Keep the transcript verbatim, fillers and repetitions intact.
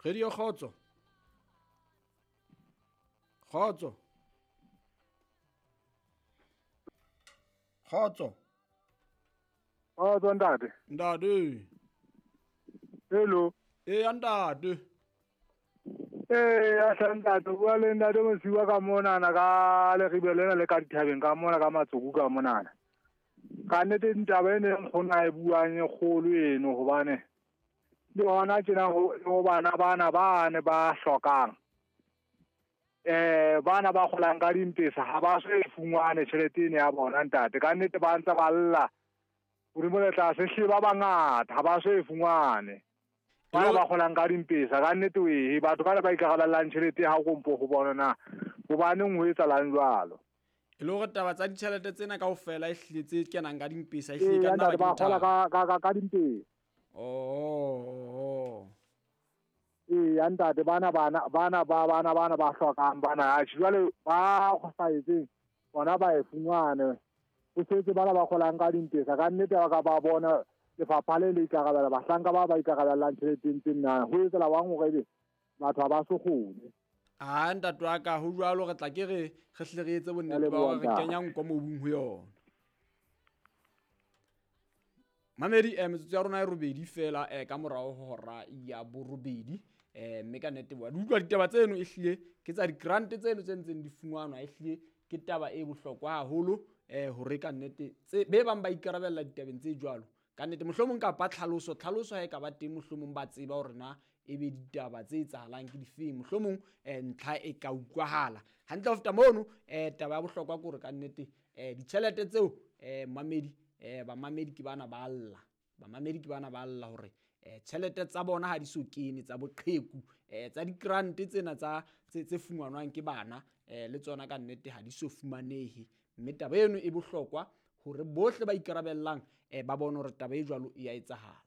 Radio Kgotso. Kgotso. Kgotso. Kgotso ntate. Ntate. Hello. Eh ntate. Eh a ntate bua le ntate Mosiwa ka monana ka Leribe lena le ka dithabeng ka mona ka Matsoku ka monana. Ka nnete ntaba ene nkgona e buang e kgolo eno hobane le hona tjena ho bana bana bane ba hlokang. Eh bana ba kgolang ka dimpesa ha ba so e fumane tjhelete ene ya bona ntate. Ka nnete ba ntse ba lla hodimo le tlase hle ba bangata ha ba so e fumane. Bana ba kgolang ka dimpesa ka nnete we batho ba ba ikarabellang tjhelete ha kompo ho bona na hobaneng ho etsahalang jwalo. E le hore taba tsa ditjhelete tsena kaofela e hlile tse kenang ka dimpesa e hlile ka nna ba kgola ka ka ka dimpesa. Oh. Eh ntate bana bana bana ba bana bana ba hlokang bana jwale ba sa etseng bona ba e fumane. Ho setse bana ba kgolang ka dimpesa ka nnete ba ka ba bona lefapha le le ikarabela bahlanka ba ba ikarabellang tjheleteng tsena ho etsela bang hore ebe batho ha ba so kgone. Ah ntate wa ka ho jwalo re tla ke re re hle re etse bonnete ba hore re kenya nko mobung ho yona. Mamedi eh metsotso ya rona e robedi fela eh ka morao ho hora ya borobedi eh mme ka nnete wa utlwa ditaba tseno e hlile ke tsa di-grant tseno tse ntseng di fumanwa e hlile ke taba e bohlokwa haholo eh hore ka nnete tse be bang ba ikarabella ditabeng tse jwalo. Ka nnete mohlomong kapa tlhaloso tlhaloso ha e ka ba teng mohlomong ba tseba hore na e be ditaba tse etsahalang ke difeng mohlomong eh ntlha e ka utlwahala hantle ho feta mono eh taba ya bohlokwa ke hore ka nnete eh ditjhelete tseo eh mamedi eh bamamedi ke bana ba lla bamamedi ke bana ba lla hore eh tjhelete tsa bona ha di so kene tsa boqheku eh tsa di-grant tsena tsa tse fumanwang ke bana eh le tsona ka nnete ha di so fumanehe mme taba eno e bohlokwa hore bohle ba ikarabellang eh ba bone hore taba e jwalo e a etsahala.